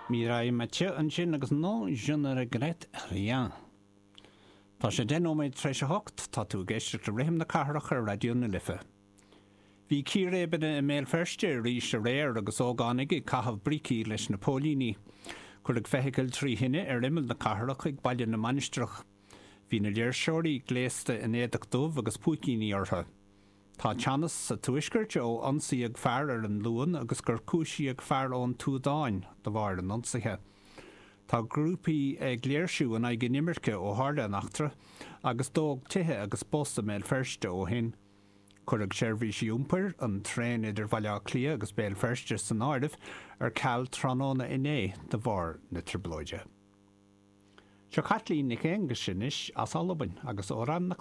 Mireille Mathieu ansin agus Non je ne regrette rien. Tá sé 10 nóiméad tar éis a hocht, tá tú ag éisteacht le Rithim na Cathrach ar Raidió na Life. Bhí círéibeanna i mBéal Feirste arís aréir agus ógánaigh ag caitheamh brící leis na póilíní. Cuireadh feithicil trí thine ar imeall na cathrach ag Baile na Mainistreach. Bhí na léirseoirí gléasta in éadach dubh agus púicíní orthu. Tá teannas sa Tuaisceart ó ionsaíodh fear ar an Luan agus gur cúisíodh fear ón tSúdáin de bharr an ionsaithe. Tá grúpaí ag léirsiú in aghaidh inimirce ó tharla an eachtra agus dódh tithe agus bus i mBéal Feirste ó shin. Cuireadh seirbhísí iompair, an traein idir Bhaile Átha Cliath agus Béal Feirste san áireamh, ar ceal tráthnóna inné de bharr na trioblóide. Seo Caitlín Nic Aonghuis anois as Albain agus Amhrán na.